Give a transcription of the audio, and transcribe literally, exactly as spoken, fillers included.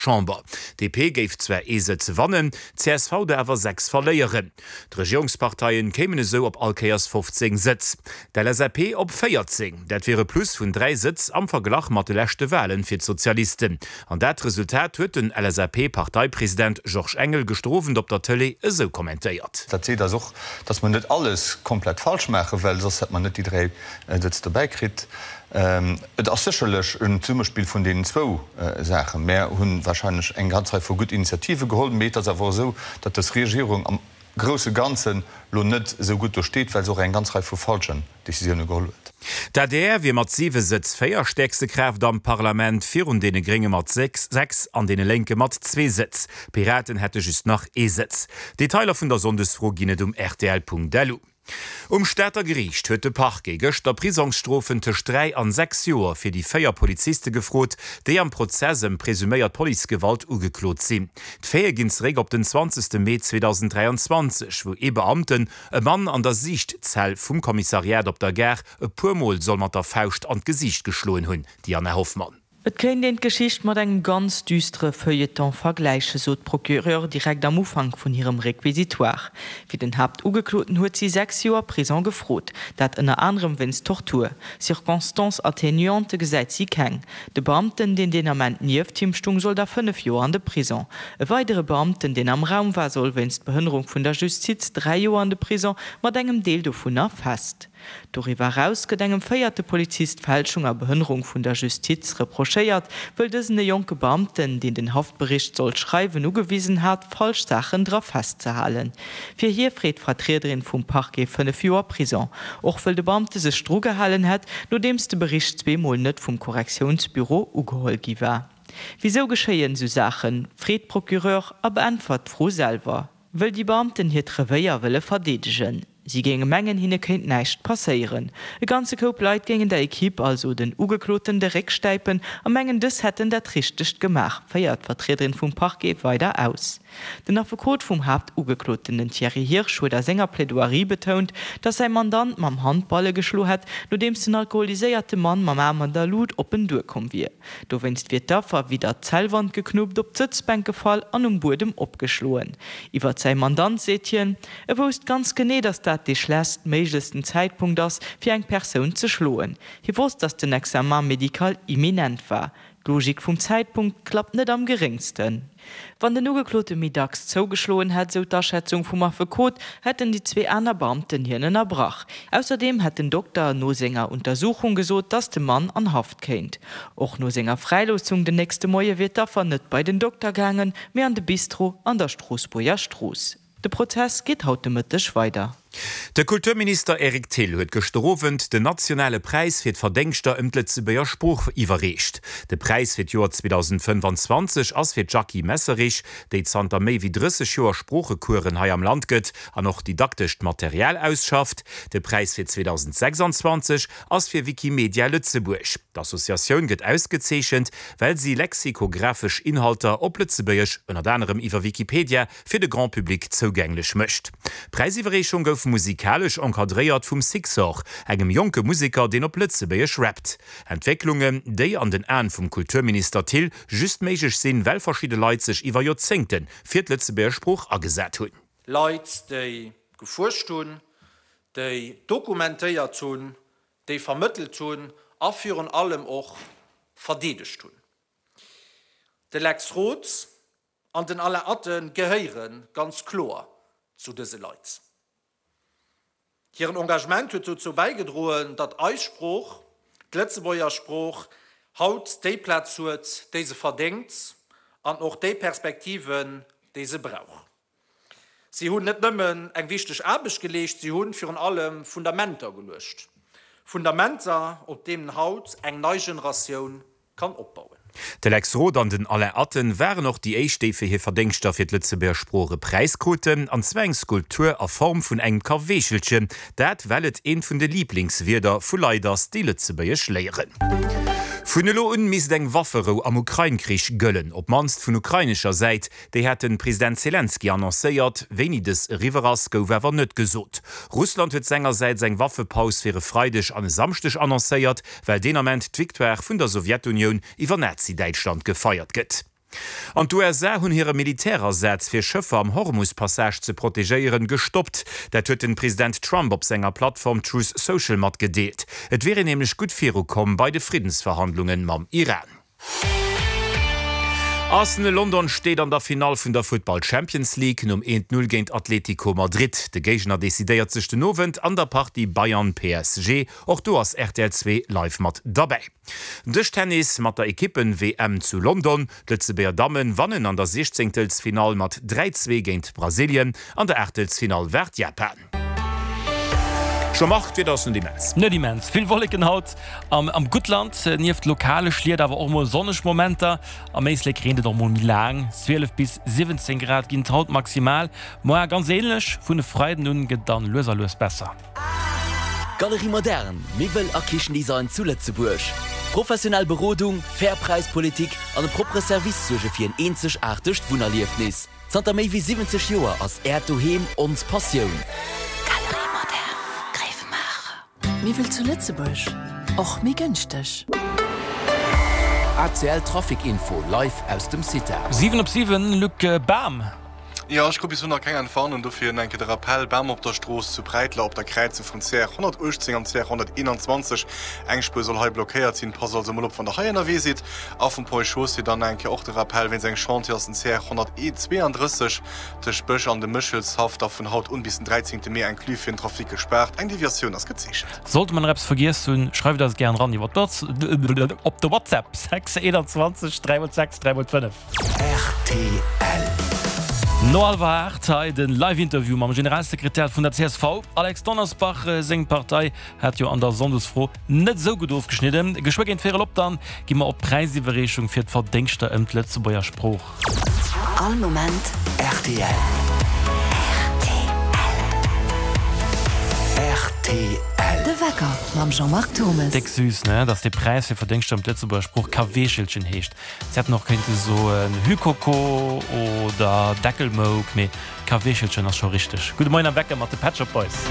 Chamber. D P géif zwar ee Sëtz wannen, C S V der awer sechs verléieren. D'Regierungsparteien kéimen esou op all Kéiers fofzéng Sëtz. D' L S A P op véierzéng. Dat wier e Plus vun dräi Sëtz am Verglach mat de leschte Walen fir d'Sozialisten. An dat Resultat huet den L S A P-Parteipresident Georges Engel gëschter Owend op der Tëlee esou kommentéiert. Dat seet eis och, datt mer net alles komplett falsch maachen, well soss hätt mer net déi dräi Sëtz dobäi kritt. Et ass sécherlech en Zesummespill vun deenen zwou Saachen. Mär hu warscheinlech eng ganz Rei vu gutt Initiative geholl, mee et ass awer och esou, datt dës Regierung am grousse Ganzen elo net esou gutt do steet, well se och eng ganz Rei vu falschen Decisioune geholl huet. D' A D R wier mat siwe Sëtz véierstäerkste Kraaft am Parlament, virun deene Grénge mat sechs an deene Lénke mat zwee Sëtz. D'Piraten hätte just nach ee Sëtz. Detailer vun der Sonndesfro ginn et um rtl Punkt L U. Um Stater Geriicht huet de Parquet gëschter Prisongsstrofen tëscht dräi an sechs Joer fir déi véier Poliziste gefrot, déi am Prozess ëm presuméiert Policegewalt ugeklot sinn. D'Faite ginn zeréck op den zwanzegste Mee zweedausendräianzwanzeg, wou ee Beamten e Mann an der Siichtzell vum Kommissariat op der Gare e puer Mol soll mat der Fauscht an d'Gesiicht geschloen hunn. Diana Hoffmann. Et kéint een d'Geschicht mat engem ganz düstere Feuilleton vergläichen, sot d'Procureur direkt am Ufank vun hirem Réquisitoire. Fir den Haaptugekloten huet si sechs Joer Prison gefrot, dat ënner anerem wéinst Tortur. Circonstances atténuantes gesäit si keng. De Beamten, deen deen Ament nieft him stoung, soll da fënnef Joer an de Prison. E weidere Beamten, deen am Raum war, soll wéinst Behënnerung vun der Justiz dräi Joer an de Prison, mat engem Deel dovunner fest. Doriwwer eraus gëtt engem véierte Polizist Fälschung a Behënnerung vun der Justiz reprochéiert, wëll dësen e jonke Beamten, deen den Haftbericht sollt schreiwen, ugewisen hat, falsch Saachen dra festzehalen. Fir hie freet d'Vertriederin vum Parquet fënnef Joer Prison, och wëll de Beamte sech dru gehalen hätt, nodeems de Bericht zweemol net vum Korrektiounsbüro ugeholl gi war. Wisou geschéien esou Saachen? Freet d'Procureur a beäntwert d'Fro selwer. Wëll déi Beamten hiert Revéier wëlle verdeedegen. Si géinge mengen, hinne kéint näischt passéieren. E ganze Koup Leit géingen der Ekipp, also den Ugekloten, de Réck stäipen a mengen, dës hätten dat Richtegt gemaach, féiert d'Vertriederin vum Parquet weider aus. Den Affekot vum Haaptugekloten, den Thierry Hirsch, huet a senger Plaidoirie betount, datt säi Mandant mam Handballe geschloen hätt, nodeems den alkoholiséierte Mann mam Aarm an der Lut op en duerkomm wier. Dowéinst wier d'Affer widder d'Zellwand geknuppt, op d'Sëtzbänk gefall an um Buedem opgeschloen. Iwwer säi Mandant seet hien, E wousst ganz genee, datt dat dee schlechtstméiglechsten Zäitpunkt ass, fir eng Persoun ze schloen. Hie wosst, datt den Examen médical imminent war. D'Logik vum Zäitpunkt klappt net am geréngsten. Wann den Ugeklote méi dacks zougeschloen hätt, sou d'Aschätzung vum Affekot, hätten déi zwee aner Beamten hien ënnerbrach. Ausserdeem hätt den Dokter no senger Untersuchung gesot, datt de Mann an Haft kéint. Och no senger Fräiloossung den nächste Moie wier d'Affer net bei den Dokter gaangen, mee an de Bistro an der Stroossbuerger Strooss. De Prozess geet haut de Mëtteg weider. De Kulturminister Eric Thill huet gëschter Owend den nationale Präis fir d'Verdéngschter ëm d'Lëtzebuerger Sprooch iwwerreecht. De Präis fir d'Joer zweedausendfënnefanzwanzeg ass fir d'Jackie Messerich, déi zanter méi wéi drësseg Joer Sproochecoursen hei am Land gëtt an och didaktescht Material ausschafft. De Präis fir zweedausendsächsanzwanzeg ass fir Wikimedia Lëtzebuerg. D'Associatioun gëtt ausgezeechent, well si lexikographesch Inhalter op Lëtzebuergesch, ënnert anerem iwwer Wikipedia, fir de Grand Public zougänglech mécht. D'Präisiwwerreechung gouf musikalesch encadréiert vum Sixor, engem jonke Museker, deen op Lëtzebuergesch rappt. Entwécklungen, déi an den Aen vum Kulturminister Thill just méiglech sinn, well verschidde Leit sech iwwer Joerzéngte fir d'Lëtzebuerger Sprooch agesat hunn. Leit, déi gefuerscht hunn, déi dokumentéiert hunn, déi vermëttelt hunn a virun allem och verdeedegt hunn. De Lex Roth an den Alain Atten gehéiere ganz kloer zu dëse Leit. Hiren Engagement huet dozou bäigedroen, datt eis Sprooch, d'Lëtzebuerger Sprooch, haut déi Plaz huet, déi se verdéngt an och déi Perspektiven, déi se brauch. Si hunn net nëmmen eng wichteg Aarbecht geleescht, si hu virun allem Fundamenter geluecht. Fundamenter, op deenen haut eng nei Generatioun kann opbauen. De Lex Roth an den Alain Atten waren och déi éischt, déi fir hir Verdéngschter fir d'Lëtzebuerger Sprooch e Präis kruten, an zwar eng Skulptur a Form vun engem Kaweechelchen, dat well et eent vun de Liblingswierder vu Leit ass, déi Lëtzebuergesch léieren. Vun elo un misst eng Wafferou am Ukrain-Krich gëllen, op d'mannst vun ukrainescher Säit. Déi hat de President Selenskyj annoncéiert. Wéini dës eriwwer ass, gouf awer net gesot. Russland huet sengersäits eng Waffepaus fir e Freideg an e Samschdeg annoncéiert, well deen Ament d'Victoire vun der Sowjetunioun iwwer Nazi-Däitschland gefeiert gëtt. An d'USA hunn hire Militärasaz fir Schëffer am Hormus-Passage ze protegéieren gestoppt. Dat huet den President Trump op senger Plattform Truth Social matgedeelt. Et wier een nämlech gutt virukomm bei de Friddensverhandlungen mam Iran. Arsenal London steet an der Finall vun der Futtball Champions League nom eent Null géint Atlético Madrid. De Géigner decidéiert sech den Owend an der Partie Bayern PSG. Och do ass rtl zwee live mat derbäi. Dëschtennis mat der Ekippen-WM zu London. D'Lëtzebuerger Dammen wannen an der Siechzéngtelsfinall mat dräi zwee géint Brasilien. An der Aachtelsfinall waart Japan. Jean-Marc, d'Wieder ass net immens. Net immens vill Wolleken haut am Guttland, nieft lokale Schliet awer och mol sonneg Momenter. Am Éislek reent et och mol méi laang. zwielef bis siwwenzéng Grad ginn et haut maximal, moar ganz änlech. Vun e Freiden un gëtt et dann lues a lues besser. Galerie Moderne, Miwwel a Kichendesign zu Lëtzebuerg. Professionell Berodung, fair Präispolitik an e proppere Service suerge fir en eenzegaartegt Wunnerliefnis. Zanter méi wéi siwwenzeg Joer ass Äert Doheem ons Passioun. Galerie Moderne, Gréiwemaacher. Miwwel zu Lëtzebuerg, och méi gënschteg. A C L Trafic Info live aus dem CITA. Siwen op siwen, Luc Bam. Jo, ech krut bis elo nach keng Entwarnung, dofir enke de Rappell, Bam op der Strooss zu Präitler op der Kräizung vum C R honnertuechtzéng an C R honnerteenanzwanzeg. Eng Spuer soll hei blockéiert sinn, passt also mol op wann der hei ënnerwee sidd. A vum Ponts et Chaussées dann eng Kéier och de Rappell, wéinst engem Chantier ass den C R honnertzweeandrësseg tëscht Bech an dem Méchelshaff da vun haut un bis den dräizéngte Mee inclus fir den Trafic gespaart. Eng Deviatioun ass gezeechent. Sollte mer nach eppes vergiess hunn, schreift eis gären eran iwwer op de WhatsApp sechs eenanzwanzeg dräi mol sechs dräi mol fënnef. Rtl. No hallwer aacht hei de Live-Interview mam Generalsekretär vun der C S V, Alex Donnersbach. Seng Partei hat jo an der Sonndesfro net esou gutt ofgeschnidden. Geschwë géint véierel op dann gi mer op d'Präisiwwerreechung fir d'Verdéngschter ëm d'Lëtzebuerger Sprooch. All Moment rtl. Rtl. De Wecker mam Jean-Marc Thomes. Déck süß, ne, dass dee Präis fir Verdéngschter ëm d'Lëtzebuerger Sprooch Kaweechelchen heescht. Se hätten och kéinte soen Hühkoko oder Deckelmouk, mee Kaweechelchen ass scho richteg. Gudde Moien am Wecker mat de Pet Shop Boys.